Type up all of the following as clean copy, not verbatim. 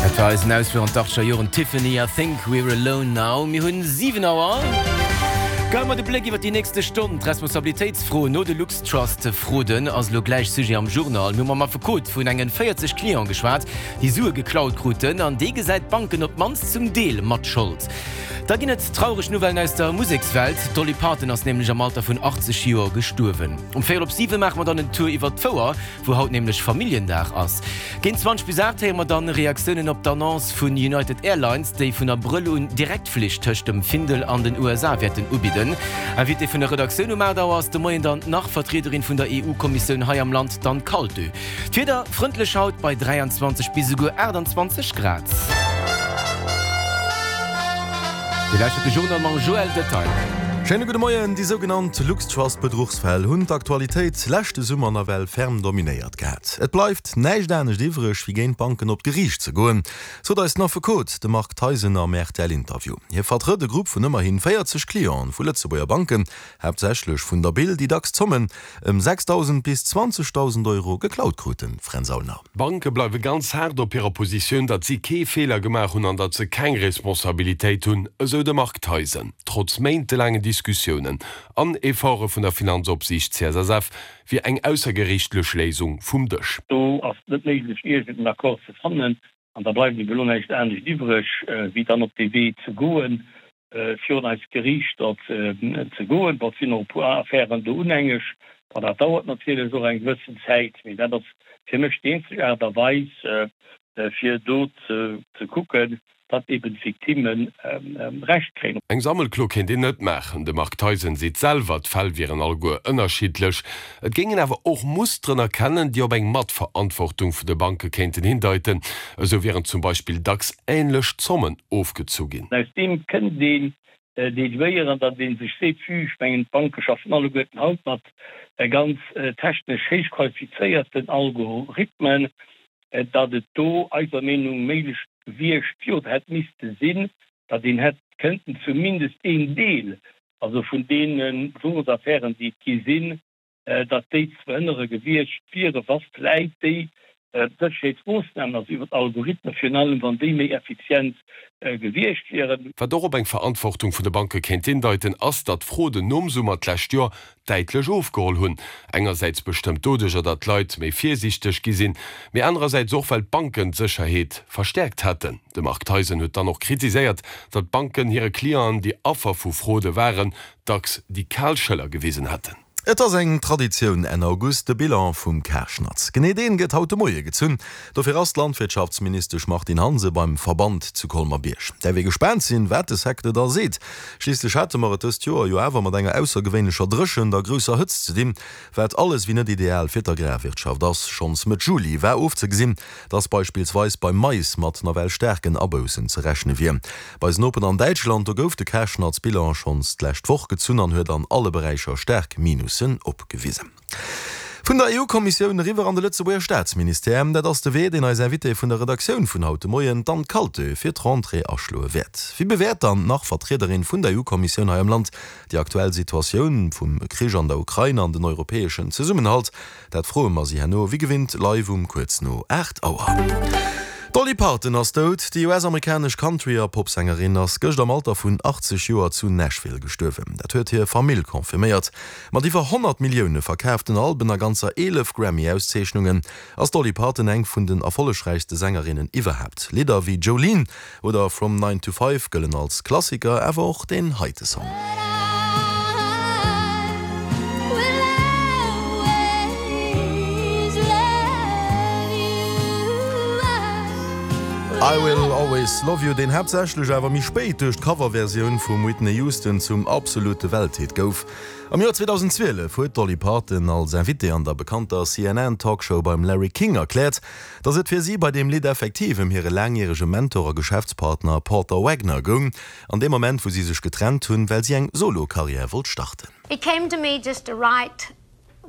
Dat war eisen Ausfluch an d'Achtzeger Joren, Tiffany, I Think We're Alone Now. Mir hunn 7 Auer. Geie mer de Bléck iwwer déi nächste Stonn. D'Responsabilitéitsfro no de LuxTrust-Fraude ass elo gläich Sujet am Journal. Mir hu mam Affekot vun engen 40 Cliente geschwat, déi Sue geklaut kruten. An dee gesäit d'Banken op d'mannst zum Deel mat Schold. Da ginn et traureg Nouvellen aus der Musekswelt. D'Dolly Parton ass nämlech am Alter vun 80 Joer gestuerwen. Um véierel op 7 maache mer dann en Tour iwwert d'Fouer, wou haut nämlech Familljendag ass. Géint 20 bis 8 héiere mer dann Reaktiounen op d'Annonce vun United Airlines, déi vun Abrëll un Direktflich tëscht dem Findel an den USA wäerten ubidden. Invité vun der Redaktioun um 8 Auer ass de Moien dann nach Vertriederin vun der EU-Kommissioun hei am Land, d'Anne Kaltö. D'Wieder, frëndlech haut bei 23 bis esouguer 28 Grad. Dir lauschtert de Journal mam Joël Detaille. Schéine gudde Moien. Déi sougenannt LuxTrust-Bedruchsfäll hunn d'Aktualitéit leschte Summer nawell ferm dominéiert gehat. Et bleift näischt anescht iwwreg, wéi géint d'Banken op d'Geriicht ze goen, sot eis den Affekot, de Marc Theisen am RTL-Interview. Hie vertrëtt e Grupp vun ëmmerhi 40 Clienten vu Lëtzebuerger Banken, haaptsächlech vun der BIL, déi dacks Zommen ëm 6.000 bis 20.000 Euro geklaut kruten, Fränz Aulner. D'Banke bleiwe ganz haart op hirer Positioun, datt si kee Feeler gemaach hunn an datt se keng Responsabilitéit hunn, esou de Marc Theisen. Trotz méintelaangen Diskussiounen an Efforte vun der Finanzopsiicht CSSF wier eng aussergeriichtlech Léisung vum Dësch. Do ass et net méiglech, iergend en Accord ze fannen. An da bleift ebe lo näischt anescht iwwreg, wéi dann op dee Wee ze goen, virun eis Geriichter ze goen. Bon, et sinn och e puer Affären do unhängeg. Bon, dat dauert natierlech och eng gewëssen Zäit, mee dat ass fir mech déi eenzeg Aart a Weis, fir do ze kucken, datt eben d'Victimme Recht kréien. Eng Sammelklo kéint een net maachen. De Marc Theisen seet selwer, d'Fäll wieren alleguer ënnerschiddlech. Et géing een awer och Musteren erkennen, déi op eng Matverantwortung vun de Banke kéinten hindeiten. Esou wieren zum Beispill dacks änlech Zommen ofgezu ginn. Aus deem kënnt een deduéieren, datt ee sech seet, vue, ech mengen d'Banke schaffen alleguerten haut mat ganz technesch héich qualifizéierten Algorithmen, datt et do eiser Meenung méiglech gewiescht wier oder hätt misste sinn, datt een hätt kënnten zumindest een Deel, also vun deene Sources-Affären, déi et gi sinn, datt déi ze verhënnere gewiescht wieren, wa vläit déi Sécherheetsmoossnamen, also iwwer d'Algorithmen virun allem, wann déi méi effizient gewiescht wieren. Wat och op eng Verantwortung vun de Banke kéint hindeiten, ass, datt d'Fraude nom Summer d'lescht Joer däitlech ofgeholl hunn. Engersäits bestëmmt doduercher, datt d'Leit méi virsiichteg gi sinn, mee anerersäits och, well d'Banken d'Sécherheet verstäerkt hätten. De Marc Theisen huet dann och kritiséiert, datt d'Banken hire Clienten, déi Affer vu Fraude waren, dacks déi kal Schëller gewisen hätten. Et ass eng Traditioun Enn August, de Bilan vum Karschnatz. Genee deen gëtt haut de Moie gezunn. Dofir ass d'Landwirtschaftsministesch Martine Hansen beim Verband zu Colmer-Bierg. Däerf ee gespaant sinn, wat de Secteur da seet. Schliisslech hate mer et dëst Joer jo awer mat enger aussergewéinlecher Dréchent a grousser Hëtzt ze dinn, wat alles wéi net ideal fir d'Agrarwirtschaft ass. Schonns Mëtt Juli war ofzegesinn, dass beispillsweis beim Mais mat nawell staarken Aboussen ze rechne wier. Bei eisen Nopen an Däitschland, do gouf de Karschnatz-Bilan schonns d'lescht Woch gezunn an huet an alle Beräicher staark Minussen opgewisen. Vun der EU-Kommissioun eriwwer an de Lëtzebuerger Staatsministère, dat ass de Wee, deen eis Invitée vun der Redaktioun vun haut de Moien, d'Anne Kaltö, fir d'Rentrée aschloe wäert. Wéi bewäert dann d'Nach-Vertriederin vun der EU-Kommissioun hei am Land déi aktuell Situatioun vum Krich an der Ukrain an den europäeschen Zesummenhalt? Dat froe mer si herno wéi gewinnt live um kuerz no 8 Auer. D'Dolly Parton ass dout. Déi US-amerikanesch Country a Popsängerin ass gëscht am Alter vun 80 Joer zu Nashville gestuerwen. Dat huet hir Famill confirméiert. Mat iwwer 100 Millioune verkaaften Alben a ganzer 11 Grammy-Auszeechnungen ass d'Dolly Parton eng vun den erfollegräichste Sängerinnen iwwerhaapt. Lidder wéi Jolene Oder From Nine to Five gëllen als Klassiker, awer och deen heite Song. I Will Always Love You, deen haaptsächlech awer méi spéit duerch d'Coverversioun vum Whitney Houston zum absolute Welthit gouf. Am Joer 2012 huet d'Dolly Parton als Invitée an der bekannter CNN-Talkshow beim Larry King erkläert, Dass et fir si bei deem Lidd effektiv ëm hire laangjärege Mentor a Geschäftspartner Porter Wagoner goung, an deem Moment wou si sech getrennt hunn, well si eng Solo-Karriär wollt starten. It came to me just to write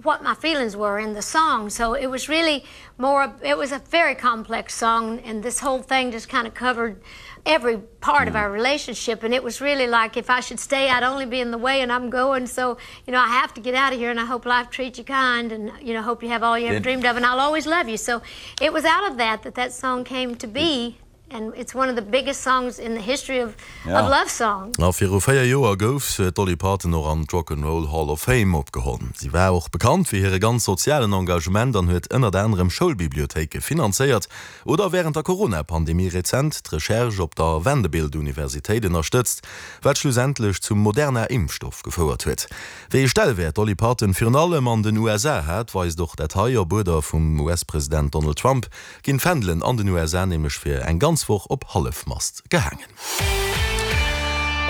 what my feelings were in the song, so it was really more, it was a very complex song and this whole thing just kind of covered every part of our relationship and it was really like if I should stay I'd only be in the way and I'm going so you know I have to get out of here and I hope life treats you kind and you know hope you have all you ever dreamed of and I'll always love you so it was out of that that that song came to be. And it's one of the biggest songs in the history of of love songs. A viru 4 Joer gouf d'Dolly Parton och an d'Rock 'n' Roll Hall of Fame opgeholl. Si war och bekannt fir hire ganz sozialen Engagement an huet ënnert anerem Schoulbibliothéike finanzéiert oder wärend der Corona-Pandemie rezent d'Recherche op der Vanderbilt-Universitéit ënnerstëtzt, wat schlussendlech zum Moderna-Impfstoff gefouert huet. Wéi ee Stellwäert d'Dolly Parton virun allem an den USA hat, weist och dat hei. Op Uerder vum US-President Donald Trump ginn d'Fändelen an den USA nämlech fir eng ganz Woch op Hallefmast gehaangen.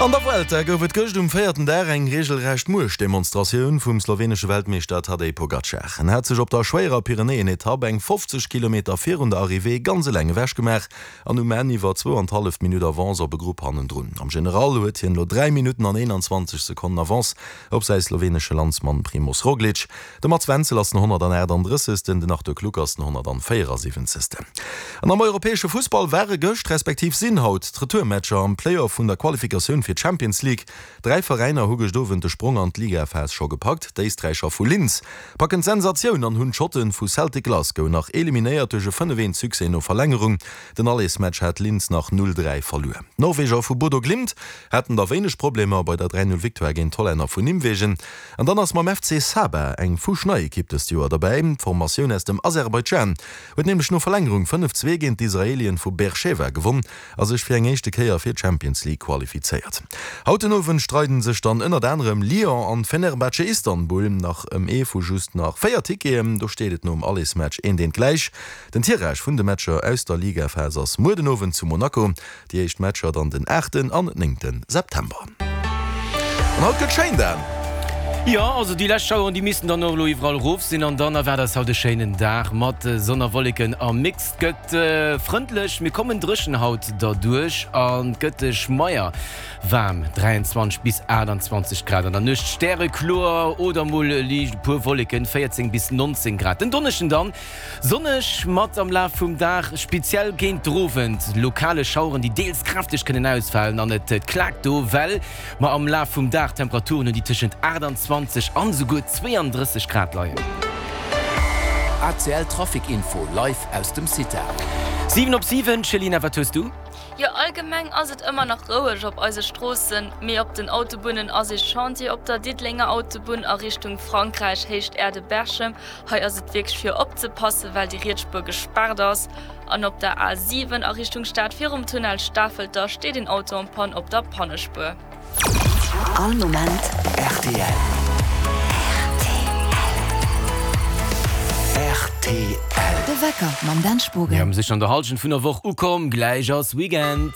An der Vuelta gouf et gëscht um véierten Dag eng reegelrecht Muechtdemonstratioun vum slowenesche Weltmeeschter Tadej Pogacar. En hat sech op der schwéierer Pyrenäen-Etapp eng 50 Kilometer virun der Arrivée ganz eleng ewechgemaach an um Enn iwwer zwou an d'halleft Minutt Avance op e Grupp hannendrun. Am General huet hien elo 3 Minutten an 21 Sekonnen Avance op säi slowenesche Landsmann Primoz Roglic. De Mats Wenzel ass den 138. Den Arthur Kluck ass den 174. An am europäesche Fussball ware gëscht, respektiv sinn haut d'Retourmatcher am Play-Off vun der Qualifikatioun fir d'Champions League. Dräi Veräiner hu gëscht Owend de Sprong an d'Ligaphas scho gepackt. D'Éisträicher vu Linz packen d'Sensatioun an hunn d'Schotte vu Celtic Glasgow nach eliminéiert duerch e 5, 1 Succès no Verlängerung. Den Allesmatch hat Linz nach 0, 3 verluer. D'Norweger vu Bodo Glimt haten da wéineg Problemer bei der 3, 0 Victoire géint d'Hollänner vun Nimwegen. An dann ass mam FC Sabah eng fuschnei Ekipp dëst Joer derbäi. D'Formatioun aus dem Aserbaidschan huet nämlech no Verlängerung 5, 2 géint d'Israelien vu Beersheva gewonn a sech fir eng éischte Kéier fir d'Champions League qualifizéiert. Haut den Owend streiden sech dann ënnert anerem Lyon an Fenerbahce Istanbul nach ëm ee vu just nach 4 Ticketen. Do steet et nom Allesmatch eent eent gläich. Den Tirage vun de Matcher aus der Ligaphas ass muer den Owend zu Monaco. Déi éischt Matcher dann den aachten an néngte September. An haut gëtt schéin, Dan! Jo, also déi lescht Schaueren, déi missten dann och elo iwwerall erof sinn an dann erwaart eis haut e schéinen Dag mat Sonn a Wolleken am Mix. Et gëtt frëndlech, mir kommen dréchen haut derduerch an et gëtt schmeier waarm, 23 bis 28 Grad. An der Nuecht stärekloer oder mol liicht e puer Wolleken, 14 bis 19 Grad. Den Donneschden dann Sonneg mat am Laf vum Dag, speziell géint d'Rowend, lokale Schaueren, déi deels kräfteg kënnen ausfalen an et klaakt do, well mer am Laf vum Dag Temperaturen hunn, déi tëschent 28 an esouguer 32 Grad leien. ACL Trafic Info live aus dem CITA. 7 op 7, Céline, wat hues du? Jo, allgemeng ass et ëmmer nach roueg op eise Stroossen, mee op den Autobunnen ass ee Chantier op der Diddelenger Autobunn a Richtung Frankräich, Héicht Äerde-Berchem. Hei ass et wierklech fir opzepassen, well déi riets Spuer gespaart ass. An op der A 7 a Richtung Stad virum Tunnel Stafelter steet een Auto en panne op der Pannespuer. All Moment rtl. Rtl. De Wecker mam Dan Spogen. Mir hu sech an der Halschent vun der Woch ukomm, gläich ass Weekend.